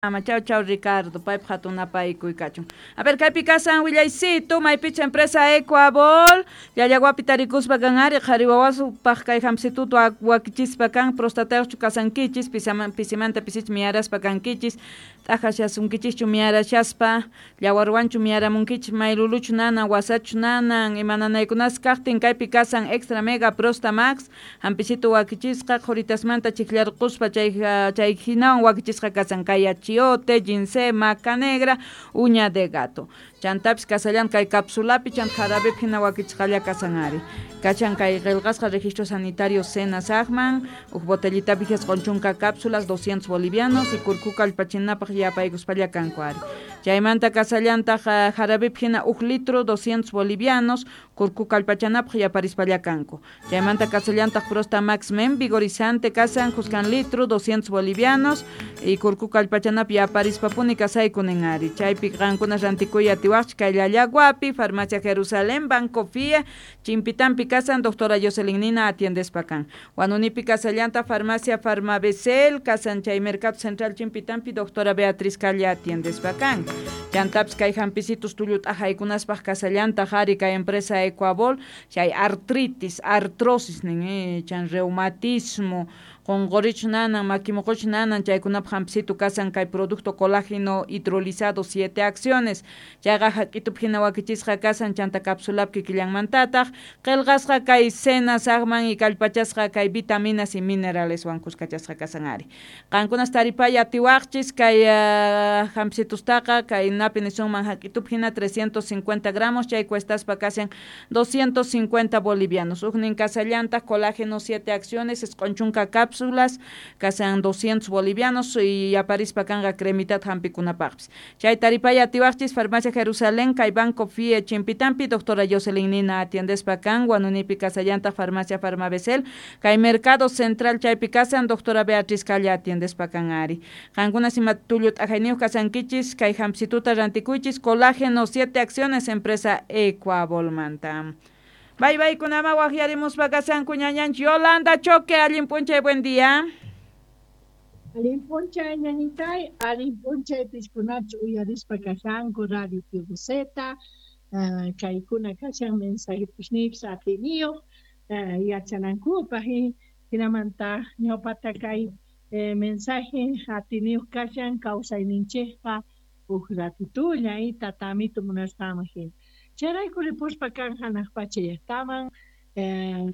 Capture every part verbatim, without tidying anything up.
Ama chau chau Ricardo, paypaq hatun napaykuy kachun. A ver, kaypi kasan willaysitu, maypicha empresa Ecuabol, Llallaguapi tarikuspa kan ari, qhari wawasupaq kay hamsitutu wakichispa kan, prostatayuqchu kasankichis, pisimanta pisich miyaraspa kankichis, t'ajashasunkichishchu miyarashaspa, llawarwanchu miyaramunkichis, mayluluchu nanan, wasachu nanan, ima nanaykunas kaqtin kaypi kasan Extra Mega Prosta Max, hampisitu wakichisqa, qhuritasmanta chiqllarquspa chay chay hinawan wakichisqa kasan kay achiote, ginseng, maca negra, uña de gato. Chantapis kasallan kay capsulapi chant jarabepi hina wakichisqalla kasan ari. Kachan kay qillqasqa registro sanitario Senasaqman, huk botellitapi isqun chunka cápsulas, doscientos bolivianos y kurkuka allpachinapaq yapaykuspalla kanku ari. Chaymanta kasallantaq jarabepi hina huk litro, doscientos bolivianos, kurkuka allpachanapaq yaparispalla kanku. Chaymanta kasallantaq Prosta Max Men vigorizante kasan kuskan litro, doscientos bolivianos y kurkuka allpachanapaq yaparispapuni kasaykunin ari. Chaypi qankuna rantikuy atiwaqchik kay Llallaguapi, Farmacia Jerusalén, Banco F I E, Chimpitampi kasan, doctora Jocelyn Nina atiendespa kan. Huanunipi kasallanta Farmacia Farmabecel, kasan chay Mercado Central Chimpitampi, doctora Beatriz Calla atiendespa kan. Chantapis kay hampisitus tullu t'ajaykunaspaq kasallanta ari kay empresa Ecuabol, chay artritis, artrosis nin, eh, chan reumatismo, qonqorichu nanan, makimuquchu nanan, chaykunapaq hampisitu kasan kay producto colágeno hidrolizado siete acciones. Chayqa hak'itupi hina wakichisqa kasan chanta capsulapi kikillanmantataq qillqasqa kay Senasaqman y kallpachasqa kay vitaminas y mineraleswan kuskachasqa kasan ari. Qankunas taripay atiwaqchis kay uh, hampisitustaqa kay napi nisunman hak'itupi hina trescientos cincuenta gramos, chay cuestaspa kasan doscientos cincuenta bolivianos. Ujnin kasallantaq colágeno siete acciones, isqun chunka cápsulas, kasan doscientos bolivianos y aparispa kanqa cremitat hampikunapaqpis. Chay taripay atiwaqchis Farmacia Jerusalén, kay Banco F I E Chimpitampi, doctora Jocelyn Nina atiendespa kan, Huanunipi kasallantaq Farmacia Farmabecel, kay Mercado Central chaypi kasan, doctora Beatriz Calla atiendespa kan ari. Qankunas ima tullu t'ajayniyuq kasankichis, kay hamsituta rantikuychis, colágeno siete acciones, empresa Ecuabolmanta. Bye bye, kunama waqyarimuspa kasanku ñañanchik Yolanda Choque, allin p'unchay, buen día. Allin p'unchay ñañitay, allin p'unchay piskunachu uyarispa kashanku Radio T V Z, uh, kaykuna kashan mensajetusniypis atiniyuq, uh, yachanankupaq, hinamanta ñawpata kay, eh, mensaje atiniyuq kashan kawsayninchikpa huk ratitulla y tatamitu munasqanman hina. Chayrayku ripuspa kan hanaq pacha llaqtaman, eh,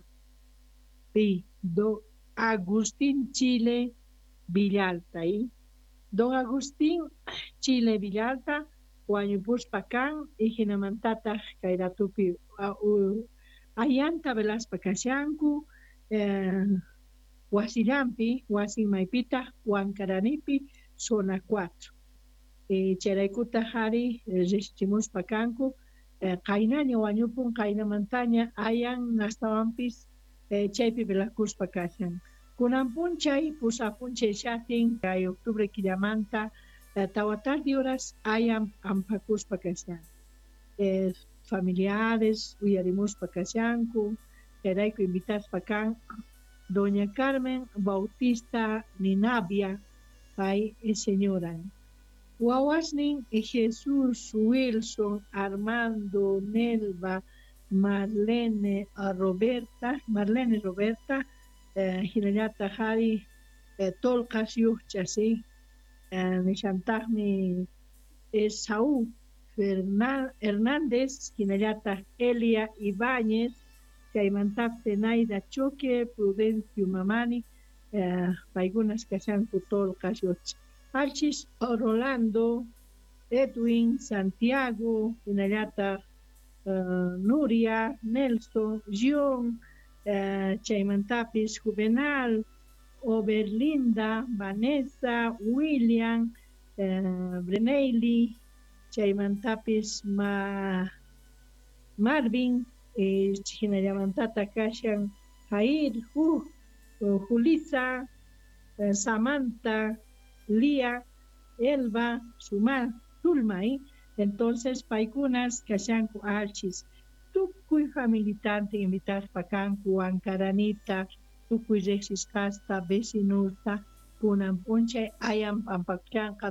pi do Agustín Chile Villalta, y don Agustín Chile Villalta wañupuspa kan y hinamantataq kay ratupi, a, u, ayanta velaspa kashanku, eh, wasillampi, wasin maypitaq Huancaranipi, zona cuatro. Eh, chayraykutaq ari, eh, riqsichimuspa kanku, eh, qaynaña wañupun, qaynamantaña ayan astawanpis, eh, chaypi velakuspa kashan. Kunan p'unchay, pusaq p'unchay shatin, kay octubre killamanta, eh, tawa tardi horas ayan ampakuspa kashan. Eh, familiares uyarimuspa kashanku, chayrayku invitaspa kan doña Carmen Bautista Ninavia, pay señora. Wawasnin Jesús, Wilson, Armando, Nelva, Marlene, Roberta, Marlene Roberta, eh, hinallataq hari, eh, Tolqas yuqcha, sí, eh, nishantaqmi Esaú Fernan-, Hernández, hinallataq Elia Ibáñez, chaymantaq Zenaida Choque, Prudencio Mamani, eh, paykunas kashanku Tolqas yuqcha. Alchis Rolando, Edwin, Santiago, hinallataq, eh, Nuria, Nelson, John, eh, chaymantapis Juvenal, Oberlinda, Vanessa, William, eh, Breneili, chaymantapis Ma-, Marvin, eh, hinallamantata kashan Jair, Ju-, Julisa, eh, Samantha, Lía, Elba, Suma, Zulma, ¿eh? Entonces, paykunas kashanku alchis, tukuy familitante invitaspa kanku, Ancaranita, tukuy riqsisqasta, vecinusta, Kunan p'unchay ayan p'ampakushanqa